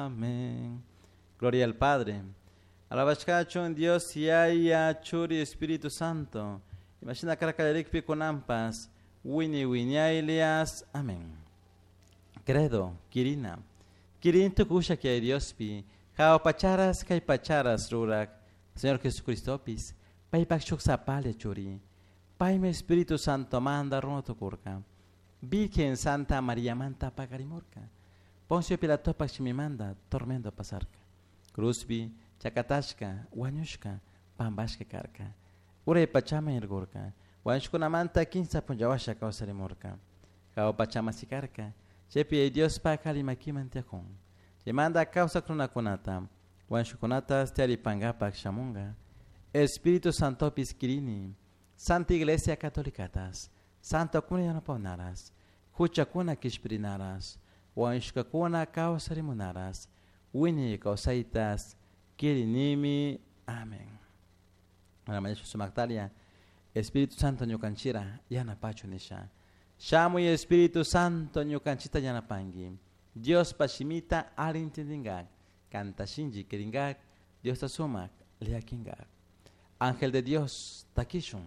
Amén. Gloria al Padre. Alabashkachun Dios Yaya Churi Espíritu Santo. Imashina karka kallarikpi kunanpas. Wiñay wiñaylias. Amén. Credo, Quirina. Quirin tukusha que hay Diospi. Jao pacharas kay pacharas rurak. Señor Jesucristopis. Paypak shuk sapalla churi. Paymi Espíritu Santo manda runa tukurka. Virgen Santa María manta pakarimurka. Poncio Pilatopak shimimanda tormento pasarka. Cruzpi chakatashka, wañushka, pampashka karka. Uray pachaman irgurka. Wañushkunamanta kinsa punllawasha kawsarimurka. Jahua pachaman sikarka. Chaypi Diospak alli makiman tiyakun. Chaymanta kawsak runakunata, wañushkakunatas tiyaripankapak shamunka. Espíritu Santopis kirini, Santa Iglesia Catolicatas, Santokuna yanapawnaras, huchakuna kishpirinaras, wañushkakuna kawsarimunaras, wiñay kawsaytas kirinimi. Amén. Sumaktalia, Espíritu Santo ñukanchira yanapachu nisha. Shamuy Espíritu Santo ñukanchita yanapanki. Diospa shimita alli intindingak, kanta shinchi kiringak, Diosta sumak liakinkak. Ángel de Dios, takishun.